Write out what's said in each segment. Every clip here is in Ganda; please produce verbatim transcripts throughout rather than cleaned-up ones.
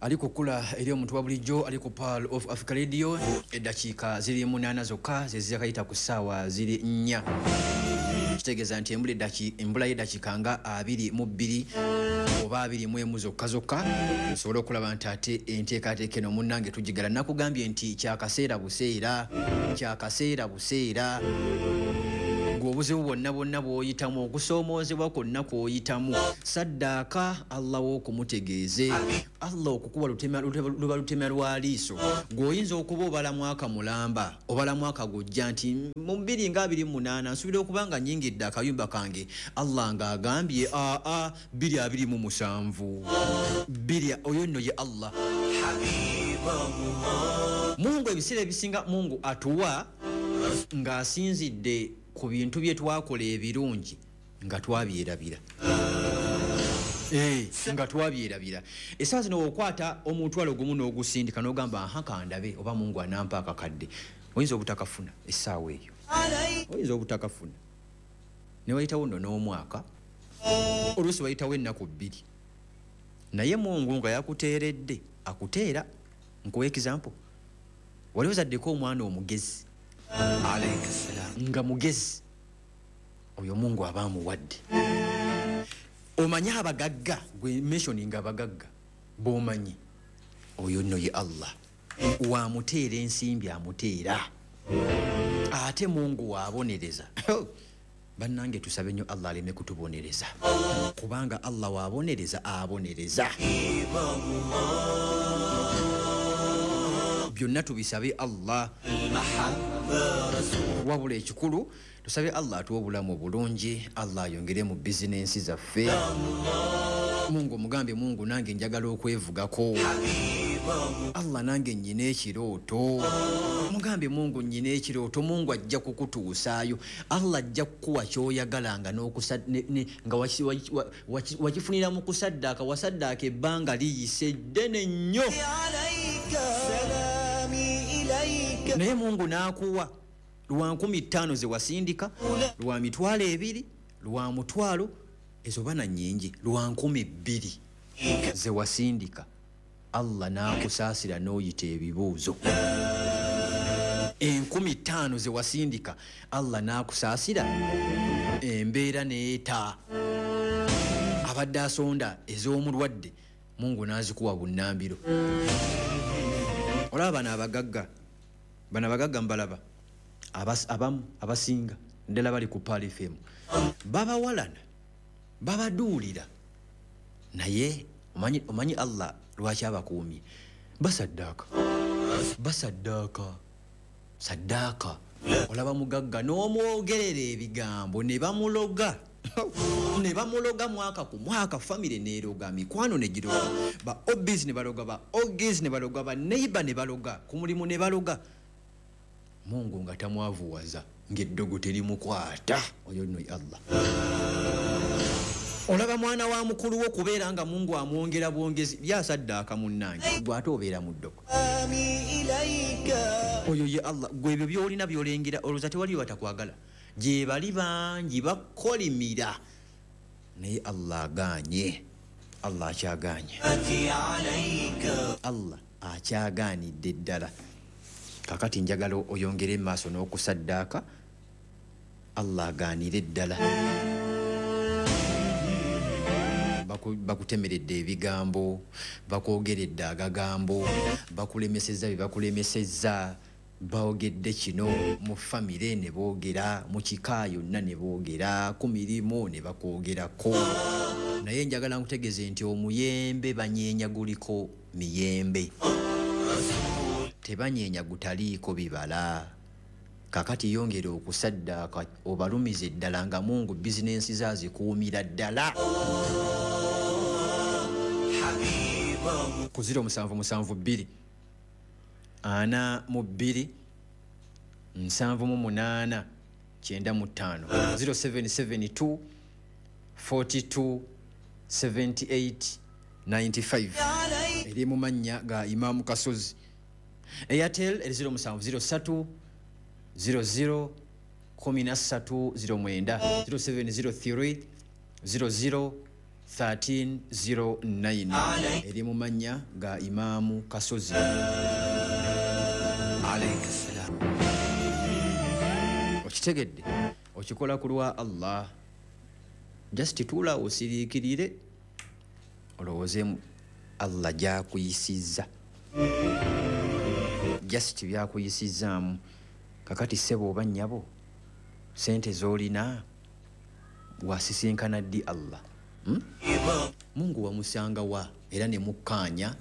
Ali kukula eri omuntu wa bulijjo ali ku Pearl of Africa Radio. Eddakiika ziri munaana zokka ze ziyakayita ku ssaawa ziri nnya, kitegeeza nti embula eddaki embula y'eddakiika nga abiri mu bbiri oba abiri mu emu zokka zokka osobola okulaba nti ate enteekateeka eno munnange tugigala. Nakugambye nti kyakaseera buseera, kyakaseera buseera. Gwe obuzibu bwonna bwonna bw'oyitamu, okusoomoozebwa kwonna kw'oyitamu, saddaaka Allah w'okumutegeeze. Allah okukuba lutema, luba lutema lwa liiso. Gw'oyinza okuba obala mwaka mulamba, obala mwaka gujja nti mu bbiri nga abiri mu munaana nsuubira okuba nga nnyingidde akayumba kange. Allah ng'agambye aa bbiri abiri mu musanvu bbiri, oyo nno ye Allah. Mungu ebiseera ebisinga Mungu atuwa ng'asinzidde ku bintu bye twakola ebirungi nga twabyerabira. Eh, nga twabyerabira. Essaawa zino okwata omutwalo gumu n'ogusindika n'ogamba aha kandabe oba Mungu anampa akakadde, oyinza obutakafuna essaawa eyo, oyinza obutakafuna. Ne wayitawo nno n'omwaka, oluusi wayitawo ennaku bbiri, naye Mungu nga yakuteeredde akuteera. Nkuwa example, wali ozaddeko omwana omugezi nga mugezi, oyo Mungu aba amuwadde. Omanyi abagagga, gwe mentioning abagagga b'omanyi, oyo nno ye Allah wamuteera ensimbi amuteera, ate Mungu waabonereza. Bannange tusabe nnyo Allah aleme kutubonereza, kubanga Allah waabonereza abonereza. Byonna tubisabe Allah. Wabula ekikulu tusabe Allah atuwe obulamu obulungi, Allah ayongere mu bizinensi zaffe. Mungu mugambe, Mungu nange njagala okwevugako. Allah nange nnyina ekirooto. Mugambe Mungu nnyina ekirooto, Mungu ajja kukutuusaayo. Allah ajja kukuwa ky'oyagala nga n'okusa, ne, ne, nga wakifunira mu kusaddaaka, wasaddaaka ebbanga liyise ddene nnyo. Naye Mungu n'akuwa lwa nkumi ttaano ze wasindika, lwa mitwalo ebiri, lwa mutwalo, ezo bana nnyingi, lwa nkumi bbiri ze wasindika. Allah n'akusaasira n'oyita ebibuuzo. Enkumi ttaano ze wasindika, Allah n'akusaasira embeera n'eta. Abadde asonda ez'omulwadde, Mungu n'azikuwa bunnambiro. Olaba bano abagagga, bano abagagga mbalaba, abamu abasinga ddala bali ku Pearl F M, babawalana, babaduulira, naye omanyi, omanyi Allah lwaki abakuumye? Basaddaaka, basaddaaka, saddaaka. Olaba mugagga n'omwogerera ebigambo ne bamuloga ne bamuloga mwaka ku mwaka, famire n'eroga, mikwano ne giroga, ba obis ne baloga, ba ogis ne baloga, ba neighbor ne baloga, ku mulimu ne baloga. Mungu nga tamwavuwaza ng'eddogo terimukwata. Oyo nno Allah. Olaba mwana wa mukulu wo kubeera nga Mungu amwongera bwongezi, byasaddaaka munnange, gwe ate obeera mu ddogo. Oyo ye Allah. Gwe ebyo by'olina by'olengera, olowooza tewaliyo batakwagala? Gye bali bangi bakolimira, naye Allah agaanye, Allah akyagaanye, Allah akyagaanidde ddala. Kakati njagala oyongere maaso n'okusaddaaka, Allah agaanire ddala. Bakutemeredde ebigambo, bakwogeredde agagambo, bakulemesezza bye bakulemesezza, boogedde kino mu famire ne boogera, mu kika yonna ne boogera, ku mirimu ne bakwogerako. Naye njagala nkutegeeze nti omuyembe banyeenya guliko miyembe, tebanyeenya gutaliiko bibala. Kakati yongera okusaddaaka obalumize ddala nga Mungu bizinensi zaazikuumira ddala. Ku ziro musanvu musanvu bbiri ana mu bbiri nsanvu mu munaana kyenda mu ttaano, zero seven seven two forty two seventy eight ninety five eri mu mannya ga Imaamu Kasozi. Airtel eri ziro musanvu ziro ssatu ziro ziro kumi na ssatu ziro mwenda, ziro seven ziro three ziro ziro thirteen zero nine eri mu mannya ga Imaamu Kasozi. Okitegedde, okikola ku lwa Allah. Just tuula osiriikirire olowooze Allah gy'akuyisizza, just byakuyisizzaamu. Kakati ssebo oba nnyabo, sente z'olina wasisinkana ddi Allah? Hmm? Mungu wamusanga wa era ne mukkaanya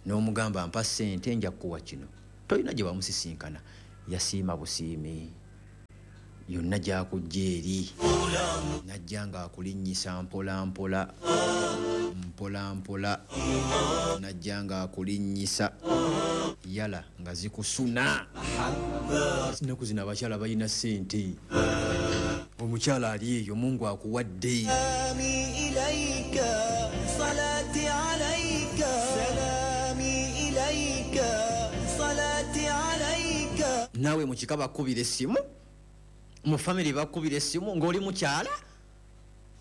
n'omugamba mpa ssente nja kukuwa kino. Tolina gye wamusisinkana, yasiima busiimi yonna gy'akujja eri, najja ng'akulinnyisa mpola mpola mpola mpola, najja ng'akulinnyisa yala nga zikusuna. Ennaku zino abakyala balina ssente, omukyala ali eyo Mungu akuwadde. Naawe mu kika bakubira essimu, mu famire bakubira essimu ng'oli mukyala,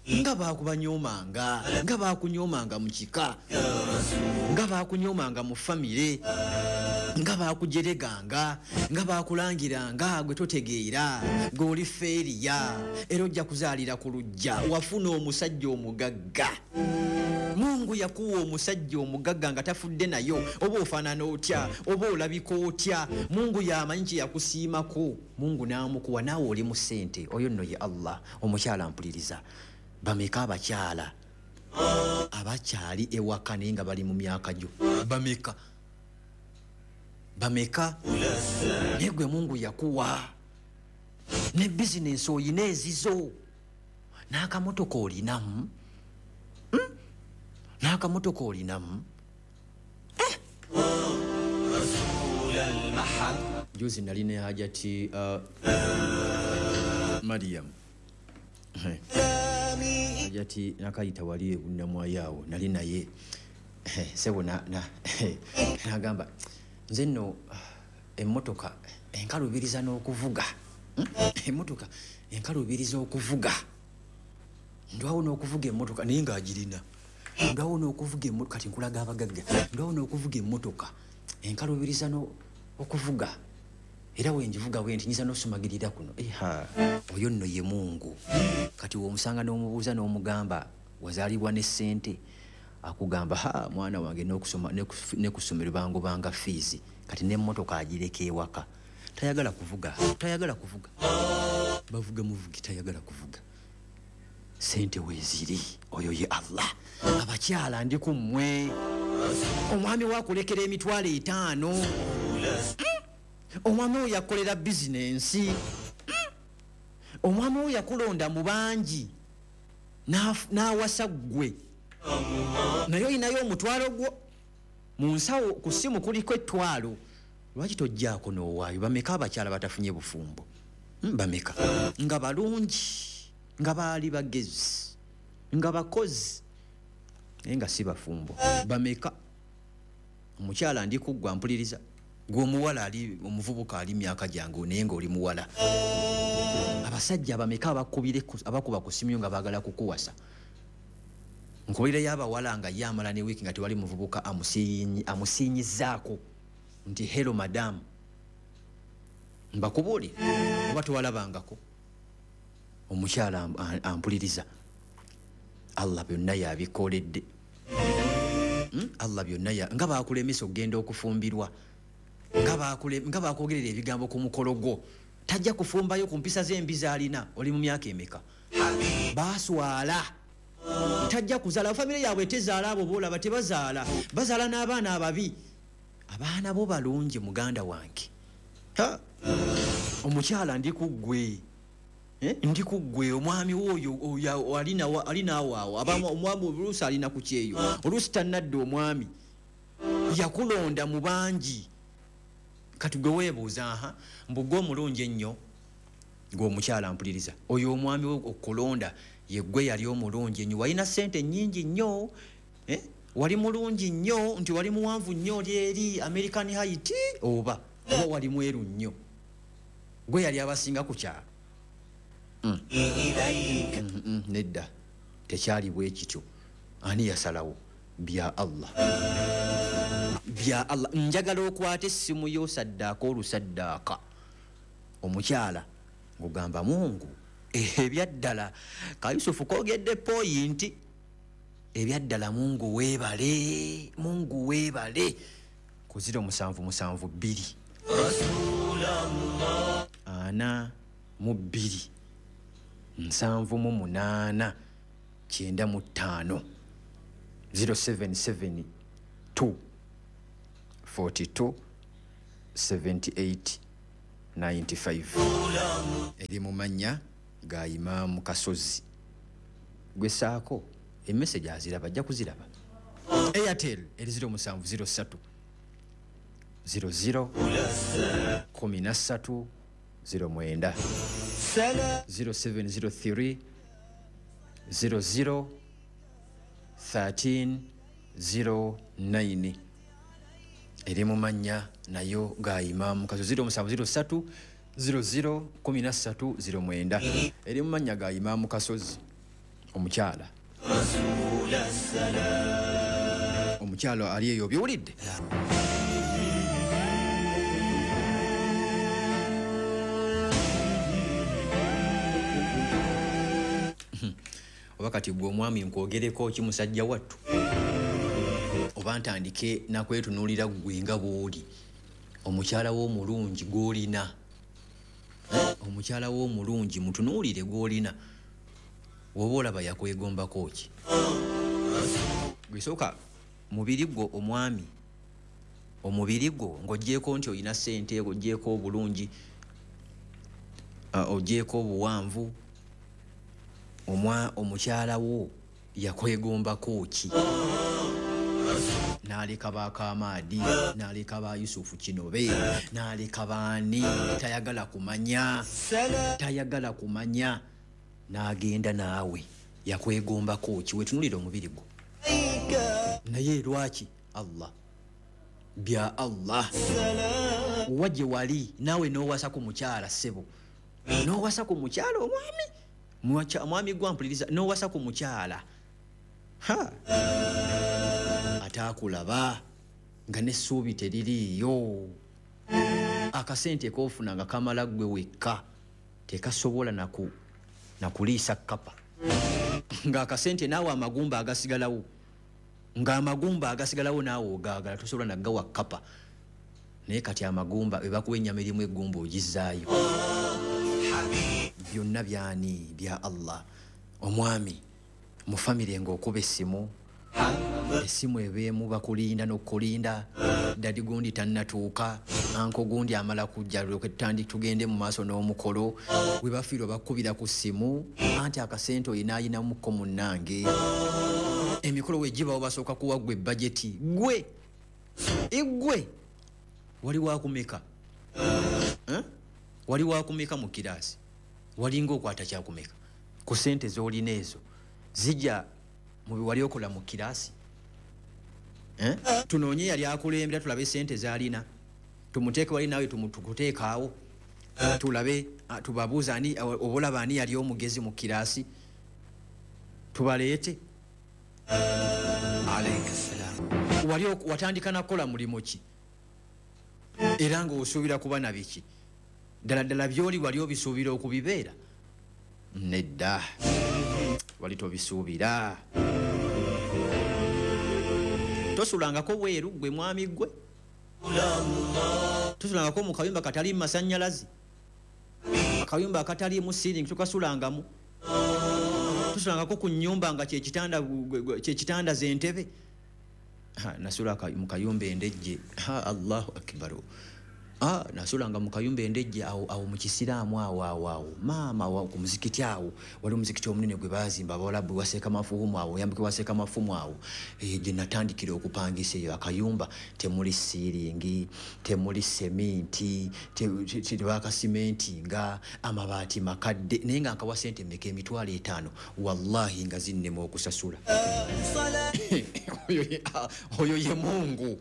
nga bakubanyoomanga, nga bakunyoomanga mu kika, nga bakunyoomanga mu famire, nga bakujereganga, nga bakulangiranga gwe totegeera, gwe oli feeriya, era ojja kuzaalira ku luggya. Wafuna omusajja omugagga, Mungu yakuwa omusajja omugagga nga tafudde nayo, oba ofaanana otya, oba olabika otya, Mungu yamanyi kye yakusiimako, Mungu n'amukuwa, naawe oli mu ssente. Oyo nno ye Allah. Omukyala mpuliriza, bameka abakyala abakyali ewaka naye nga bali mu myaka gyo? Bameka? Bameka? Naye gwe Mungu yakuwa ne bizinensi oyina ezizo, n'akamotoka olinamu, n'akamotoka olinamu. Juzi nali ne Hajati uh, Mariam, Hajati nakayita wali ebunnamwayo awo, nali naye sebo nagamba nze nno emmotoka enkalubiriza n'okuvuga, emmotoka enkalubiriza okuvuga, ndwawo n'okuvuga emmotoka naye ng'agirina, ndwawo n'okuvuga emmotoka, kati nkulaga abagagga, ndwawo n'okuvuga emmotoka enkalubiriza okuvuga, era wenjivuga bwe nti nyinza n'osumagirira kuno. Oyo nno ye Mungu. Kati w'omusanga n'omubuuza n'omugamba wazaalibwa ne ssente, akugamba ha mwana wange n'okusoma ne ku ssomero bangobanga fiizi, kati n'emmotoka agireka ewaka, tayagala kuvuga, tayagala kuvuga, bavuga muvugi, tayagala kuvuga. Ssente weeziri, oyo ye Allah. Abakyala ndi ku mmwe, omwami wakulekera emitwalo etaano, omwami oyo yakolera bizinensi, omwami oyo yakulonda mu bangi n'awasa ggwe, naye olinayo omutwalo gwo mu nsawo, ku ssimu kuliko ettwalo, lwaki tojjaako n'owaayo? Bameka abakyala batafunye bufumbo? Bameka nga balungi, nga baali bagezi, nga bakozi, naye nga si bafumbo? Bameka? Omukyala ndi kuggwa mpuliriza, gwe omuwala ali omuvubuka ali myaka gyange naye ng'oli muwala. Abasajja bameka abakubire abakuba ku ssimu nga baagala kukuwasa? Nkubulireyo abawala nga ye amala ne wiiki nga tewali muvubuka amusiinyizaako nti hello madam, mbakubuulire oba tewalabangako. Omukyala ampuliriza, Allah byonna yabikoledde. Allah byonna nga bakulemesa okugenda okufumbirwa, nga bakwogerera ebigambo ku mukolo gwo, tajja kufumbayo ku mpisa z'embi z'alina. Oli mu myaka emeka? Baaswala, tajja kuzaala. Famire yaabwe tezaala, abo boolaba tebazaala, bazaala n'abaana ababi. Abaana bo balungi muganda wange. Omukyala ndi ku ggwe, ndi ku ggwe, omwami wo oyo alinaawo awo, omwami oluusi alina ku kyeyo, oluusi tannadde. Omwami yakulonda mu bangi, kati gwe weebuuza aha mbu gwe omulungi ennyo, gwe omukyala mpuliriza, oyo omwami we okulonda ye gwe yali omulungi ennyo, walina ssente nnyingi nnyo, wali mulungi nnyo, nti wali muwanvu nnyo, oli eri American height, oba oba wali mweru nnyo, gwe yali abasinga ku kyalo? Nedda, tekyali bwe kityo. Ani yasalawo? Bya Allah, bya Allah. Njagala okwate essimu yo saddaaka olusaddaaka omukyala ng'ogamba Mungu ebyaddala ka Yusufu koogedde poyinti, ebyaddala Mungu weebale, Mungu weebale. Ku ziro musanvu musanvu bbiri ana mu bbiri nsanvu mu munaana kyenda mu ttaano zero seven seven two forty two seventy eight ninety five eri mu mannya ga Imaamu Kasozi. Gwe saako emessage aziraba, ajja kuziraba. Airtel eri zero musanvu zero ssatu zero zero kumi na ssatu zero mwenda zero seven zero three zero zero thirteen zero nine eri mu mannya nayo ga Imaamu Kasozi zero musanvu zero ssatu zero zero kumi na ssatu zero mwenda eri mu mannya ga Imaamu Kasozi. Omukyala omukyala ali eyo obiwulidde? Oba kati gwe omwami nkwogereko ki musajja wattu, oba ntandike nakwetunuulira ggwe nga bw'oli omukyala w'omulungi gw'olina, omukyala w'omulungi mutunuulire gw'olina, woba olaba yakwegombako ki? Gwe sooka mubiri gwo omwami, omubiri gwo ng'oggyeeko nti olina ssente, ng'oggyeeko obulungi, oggyeeko obuwanvu, omwa omukyala wo yakwegombako ki? N'aleka Bakamaadi, n'aleka ba Yusufu Kinobe, n'aleka baani, tayagala kumanya, tayagala kumanya, n'agenda naawe yakwegombako ki? Wetunuulira omubiri gwo. Naye lwaki? Allah, bya Allah. Wa gye wali naawe n'owasa ku mukyala ssebo, n'owasa ku mukyala omwami, omwami gwampuliriza, n'owasa ku mukyala ha ataakulaba nga n'essuubi teririiyo, akasente k'ofuna nga kamala ggwe wekka tekasobola naku nakuliisa kkapa, ng'akasente naawe amagumba agasigalawo, ng'amagumba agasigalawo naawe ogaagala tosobola naggawa kkapa. Naye kati amagumba bwe bakuwa ennyama erimu eggumba ogizzaayo. Byonna byani? Bya Allah. Omwami mu famire ng'okuba essimu, essimu ebeemu bakulinda n'okulinda, dadi gundi tannatuuka, anko gundi amala kujja lyoke tutandike tugende mu maaso n'omukolo, we bafiirwa bakubira ku ssimu anti akasente olina ayinamuko munnange. Emikolo we gibawo basooka kuwa ggwe bajeti, ggwe eggwe wali wakumeka, wali wakumeka mu kiraasi, walinga okwata kyakumeka ku ssente z'olina ezo zijja mu bye wali okola mu kiraasi. Tunoonye yali akulembera tulabe ssente z'alina, tumuteeke wali naawe tumutukuteekaawo tulabe, tubabuuze ani oba olaba ani yali omugezi mu kiraasi, tubaleete. Wali watandika nakukola mulimu ki era ng'osuubira kuba na biki? Ddala ddala by'oli wali obisuubira okubibeera? Nedda, wali tobisuubira. Tosulangako bweru gwe mwami gwe, tosulangako mu kayumba kataliimu masannyalaze, akayumba akataliimu ceiling tokasulangamu, tosulangako ku nnyumba nga kyekitanda kyekitanda z'entebe. Nasula mu kayumba endejje, Allahu akbar. Ah, nasulanga mu kayumba endejje awo awo mu kisiraamu awo awo awo maama awo ku muzikiti awo wali omuzikiti omunene gwe baazimba abawalabu waseeka mafumu awo oyambike waseeka mafumu awo, eh, gye natandikira okupangisa eyo akayumba temuli siiringi, temuli seminti, tebakasimentinga, amabaati makadde, naye nga nkawa ssente mmeka? Emitwalo etaano. Wallahi nga zinnema okusasula. Oyo ye Mungu.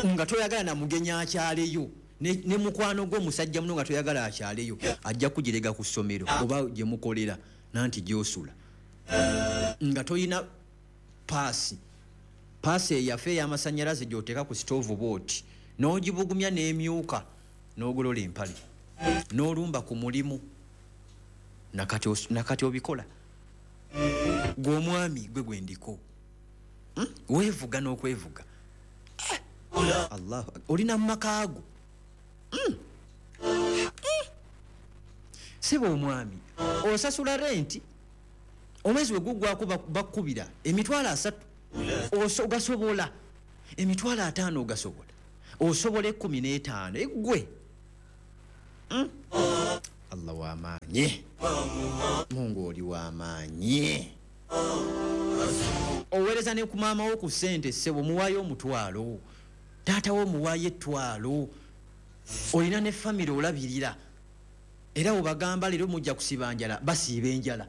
Nga toyagala na mugenyi akyaleyo, ne, ne mukwano gwo musajja muno nga toyagala akyaleyo, ajja kugirega ku ssomero oba gye mukolera nanti gy'osula, nga toyina paasi paasi eyaffe ey'amasannyalaze gy'oteeka ku sitoovu bw'oti n'ogibugumya n'emyuka n'ogolola empale n'olumba ku mulimu nakati, nakati obikola gwe omwami gwe gwendiko hmm? Weevuga n'okwevuga eh. Allah olina mu maka go mm. mm. Sebo omwami osasula renti omwezi we gugwako bakubira emitwalo asatu ogasobola emitwalo ataano ogasobola osobola ekkumi n'etaano eggwe mm. Allah w'amaanyi Mungu oli w'amaanyi oweereza ne ku maama wo ku ssente ssebo muwaayo omutwalo taata wo muwaayo ettwalo olina ne famire olabirira era obagamba leero mujja kusiba njala basiiba enjala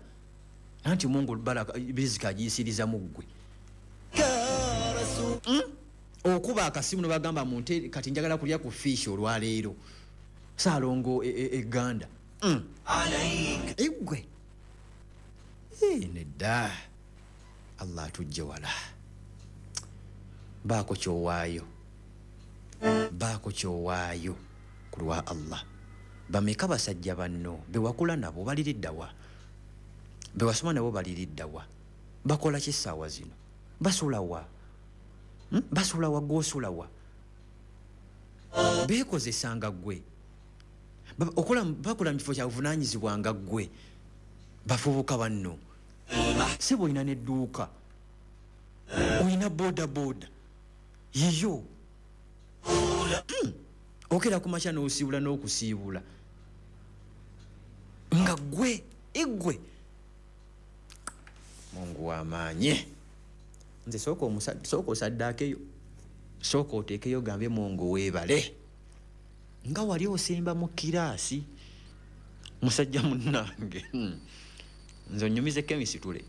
anti Mungu baraka riziki agiyisiriza mu ggwe mm? Okuba akasimu nebagamba munte kati njagala kulya ku fish olwaleero Saalongo eganda e, e, mm. Eggwe e, nedda Allah atujje wala baako kyowaayo baako kyowaayo ku lwa Allah bameka basajja banno bewakula nabo baliriddawa bewasoma nabo baliriddawa bakola ki essaawa zino basulawa hmm? Basulawa gw'osulawa beekozesanga ggwe okola bakola mu kifo kya buvunaanyizibwa nga ggwe bafubuka banno sebo olina n'edduuka olina boda boda yiyo mm. Okera ku makya n'osiibula n'okusiibula nga ggwe eggwe Mungu w'amaanyi nze sooka sooka osaddaakeyo sooka oteekeyo gambe Mungu weebale nga wali osemba mu kiraasi musajja munnange nze onyumize kemisitule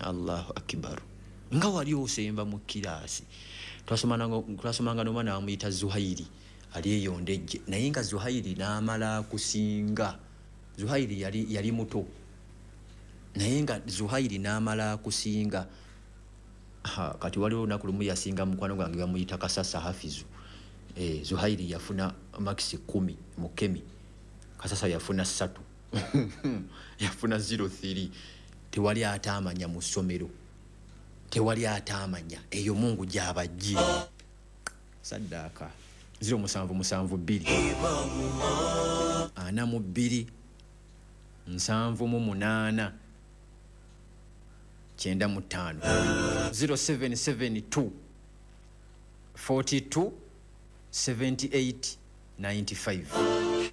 Allahu akbar nga wali osemba mu kiraasi twasomanga n'omwana bamuyita Zuhairi ali eyo Ndejje naye nga Zuhairi n'amala kusinga Zuhairi yali, yali muto naye nga Zuhairi n'amala kusinga ha, kati waliwo olunaku lumu yasinga mukwano gwange bamuyita Kasasa Hafizu e, Zuhairi yafuna makisi kumi mu kemi Kasasa yafuna ssatu yafuna zero three tewali ataamanya mu ssomero tewali ataamanya eyo Mungu gy'abajje saddaaka zero musanvu musanvu bbiri ana mu bbiri nsanvu mu munaana kyenda mu ttaano zero seven seven two forty two seventy eight ninety five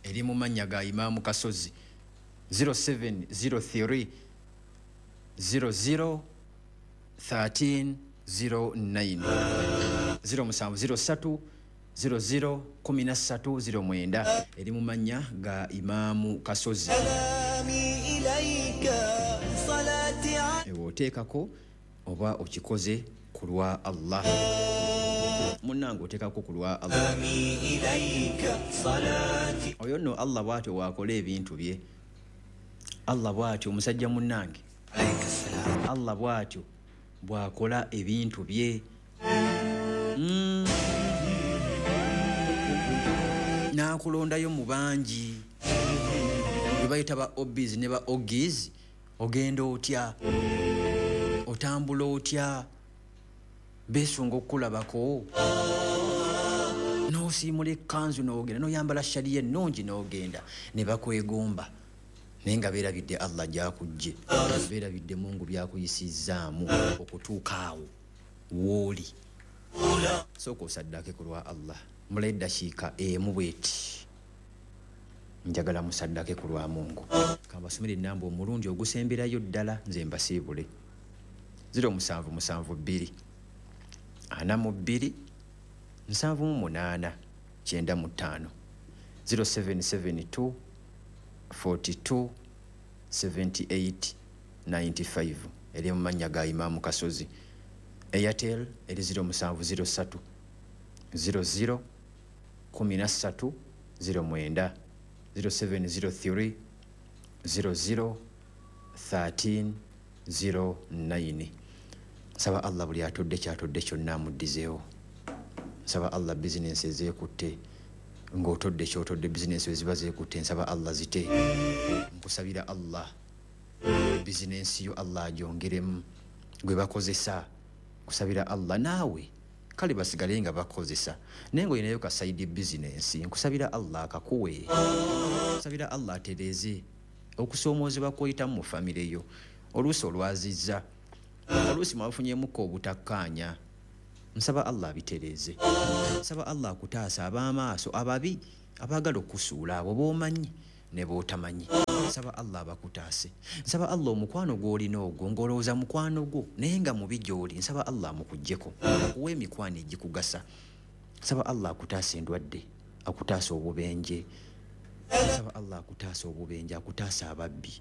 eri mu mannya ga Imaamu Kasozi zero seven zero three zero zero thirteen zero nine zero musanvu zero ssatu zero zero kumi na ssatu zero mwenda eri mu mannya ga Imaamu Kasozi ewe oteekako oba okikoze ku lwa Allah munnange oteekako ku lwa Allah oyo nno Allah bw'atyo waakola ebintu bye Allah bw'atyo omusajja munnange Allah bw'atyo bw'akola ebintu bye mm. N'akulondayo mu bangi bwe bayita ba obis ne ba ogis ogenda otya otambula otya beesunga okukulabako n'osiimula ekkanzu n'ogenda n'oyambala shariya ennungi n'ogenda ne bakwegomba naye nga beerabidde Allah gy'akujje beerabidde Mungu byakuyisizzaamu okutuuka awo w'oli sooka osaddake ku lwa Allah mula eddakiika emu bweti njagala musaddake ku lwa Mungu kambasomere ennamba omulundi ogusemberayo ddala nze mbasiibule zero musanvu musanvu bbiri ana mu bbiri nsanvu mu munaana kyenda mu ttaano zero seven seven two forty two seventy eight ninety five eri mu mannya ga Imaamu Kasozi Airtel eri zero musanvu zero ssatu zero zero kumi na ssatu zero mwenda zero seven zero three zero zero thirteen zero nine Nsaba Allah buli atodde kyatodde kyonna amuddizeewo. Nsaba Allah bizinensi ezeekutte, ng'otodde kyotodde bizinensi eziba zeekutte, nsaba Allah zite. Nkusabira Allah bizinensi yo Allah agyongeremu gwe bakozesa. Nkusabira Allah naawe kale basigale nga bakozesa, naye ng'olinayo ka side bizinensi, nkusabira Allah akakuwe. Nkusabira Allah atereeze okusoomoozebwa kw'oyitamu mu famire yo. Oluusi olwazizza, oluusi mwafunyemuko obutakkaanya, nsaba Allah abitereeze. Nsaba Allah akutaasa ab'amaaso ababi abaagala okusuula, abo b'omanyi ne b'otamanyi. Nsaba Allah abakutaase. Nsaba Allah omukwano gw'olina ogwo ng'olowooza mukwano gwo naye nga mubi gy'oli, nsaba Allah amukuggyeko, akuwe emikwano egikugasa. Nsaba Allah akutaase endwadde, akutaase obubenje. Nsaba Allah akutaase obubenje, akutaase ababbi,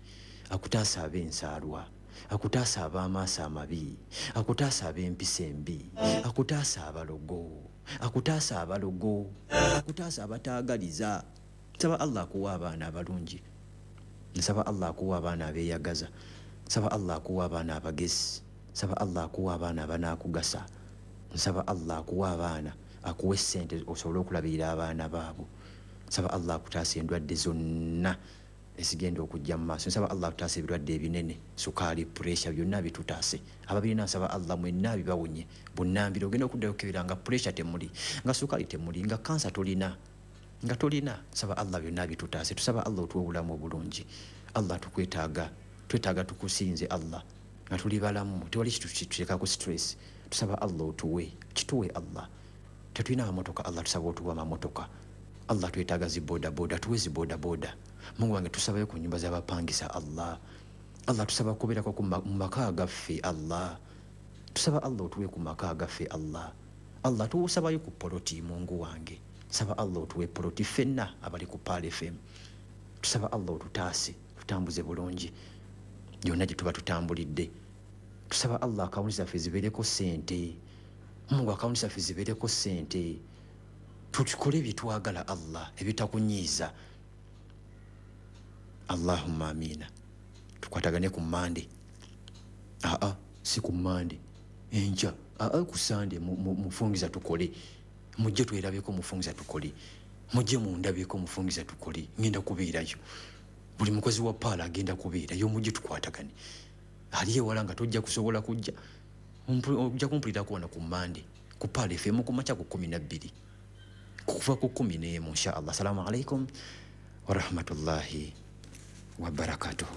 akutaase ab'ensaalwa, akutaase ab'amaaso amabi, akutaase ab'empisa embi, akutaase abalogo, akutaase abalogo, akutaase abataagaliza. Nsaba Allah akuwa abaana abalungi. Nsaba Allah akuwa abaana abeeyagaza. Nsaba Allah akuwa abaana abagezi. Nsaba Allah akuwa abaana abanaakugasa. Nsaba Allah akuwa abaana, akuwe ssente osobole okulabirira abaana baabo. Nsaba Allah akutaasa endwadde zonna ezigenda okujja mu maaso. Nsaba Allah akutaasa ebirwadde ebinene, sukaali, puresha, byonna bitutaase. Ababirina nsaba Allah mwenna bibawonye bunnambiro. Ogenda okuddayo okukebera nga puresha temuli, nga sukaali temuli, nga kansa tolina, nga tolina. Nsaba Allah byonna bitutaase. Tusaba Allah otuwe obulamu obulungi. Allah tukwetaaga, twetaaga tukusinze Allah nga tuli balamu, tewali kituteekako stress. Tusaba Allah otuwe, kituwe Allah. Tetulina amamotoka Allah, tusaba otuwe amamotoka. Allah twetaaga zi bodaboda, tuwe zi bodaboda. Mungu wange tusabayo ku nyumba z'abapangisa Allah. Allah tusaba kubeerako ku mu maka gaffe Allah. Tusaba Allah otuwe ku maka gaffe Allah. Allah tusabayo ku poloti Mungu wange. Nsaba Allah otuwe poloti ffenna abali ku Pearl F M. Tusaba Allah otutaase, tutambuze bulungi yonna gye tuba tutambulidde. Tusaba Allah akawunti zaffe zibeereko ssente. Mungu akawunti zaffe zibeereko ssente. Tukole bye twagala Allah ebitakunyiiza. Allahumma amina. Tukwatagane ku Mande. Aa, si ku Mande. Enkya, aa ku Sande mufungiza tukole. Mujje twerabeko mufungiza tukole. Mujje mundabeko mufungiza tukole. Ngenda kubeerayo. Buli mukozi wa Pearl agenda kubeerayo, mujje tukwatagane. Ali ewala nga tojja kusobola kujja. Ojja kumpulirako wano ku Mande. Ku Pearl F M ku makya ku kkumi na bbiri. Kuva ku kkumi n'emu insha Allah. Assalamu alaikum wa rahmatullahi wa barakatuhu.